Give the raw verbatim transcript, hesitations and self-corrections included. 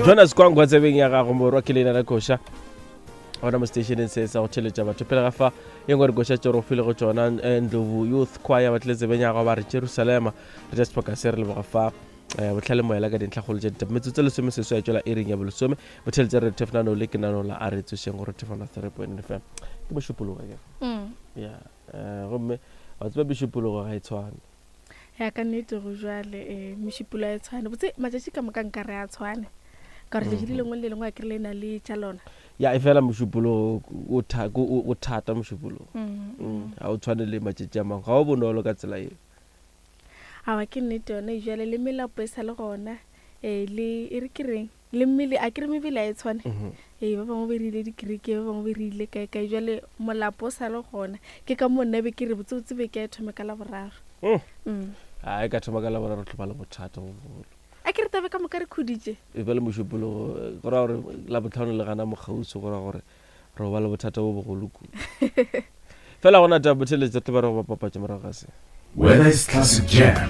Jonas Kwangwa tsebeng ya gago morwa ke leina la koša gona mo stationeng se sa go theletša batho pele ga fa ye nngwe re koša tše re go file go tšona eh, Ndlovu Youth Choir ba tlile tsebeng ya gago ba re Jerusalema. Re tša sebaka se re leboga fa eh, bohlale moela ka dintlhakgolo tša ditaba. Metsotso lesome seswai ya tšwela iring ya bolesome. Botheletše re thefnano le ke nano la a re tsošeng gore thefana three point F M ke mošupologo ke Mm. ya eh, gomme wa tseba mešupologo ga e tshwane. Ya ka nnete go jwale eh mešupolo a e tshwane. Botse matšatši ka moka nka re a tshwane. Ka gore letšatši le lengwe le le lengwe a kry le na le tša lona. Ya e fela mošupologo o tha- o o thata mošupologo. Mm. Mm, ga o tshwane le matšatši a mangwe, ga o bonolo ka tsela eo. Awa ke nnete yone jwale le melapo e sa le gona eh le e re ke reng le mmele a kere mebele a e tshwane. Mhm. Ee ba bangwe be re ile dikereke, ba bangwe be re ile kae kae, jwale molapo o sa le gona. Ke ka moo nna be ke re botsebotse be ke a e thome ka Laboraro. Mm. Mm. A e ka thoma ka Laboraro tlo ba le bothata bo bogolo. A ke re tabe ka moka re khuditše. E ba le mošupologo go raya gore Labohlano le gana mokgauswi, go raya gore re ba le bothata bo bogolo kudu. Fela gona taba botheletše tlo ba re go bapapatša morago ga se. Whether it's classic jam,